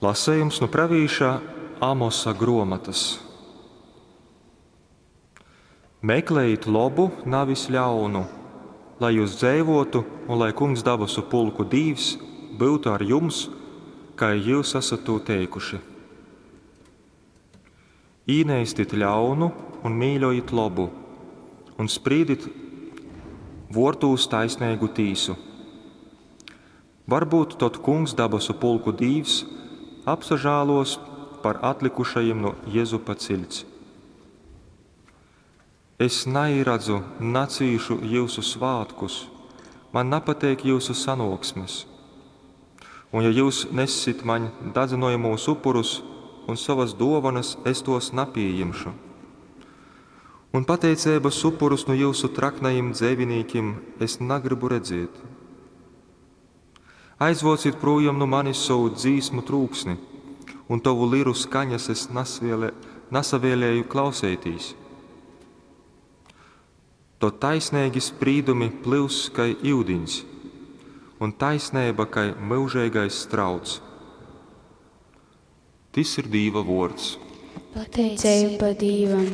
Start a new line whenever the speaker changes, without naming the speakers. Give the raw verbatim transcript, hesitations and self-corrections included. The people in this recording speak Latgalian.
Lasejums nu pravīša Amosa gruomotys. Meklejit lobu, navis ļaunu, lai jyus dzeivuotu un lai Kungs dabasu pulku Dīvs byutu ar jums, kai jyus asat tū teikuši. Īneistit ļaunu un mīļojit lobu, un sprīdit vuortūs taisneigu tīsu. Varbūt tod Kungs dabasu pulku Dīvs apsažāluos par atlikušajim nu Jezupa ciļts. Es naīradzu, nacīšu jyusu svātkus, man napateik jyusu sanuoksmes. Un ja jyus nessit maņ dadzynojamūs upurus un sovas duovanas, es tuos napījimšu. Un pateiceibas upurus nu jyusu traknajim dzeivinīkim es nagrybu redziet. Aizvuocit prūjom nu manis sovu dzīsmu trūksni, un tovu liru skaņas es nasviele, nasavēlēju klauseitīs. Tod taisneigi sprīdumi plyuss kai iudiņs, un taisneiba kai myužeigais strauts. Tys ir Dīva vuords.
Pateiceiba Dīvam.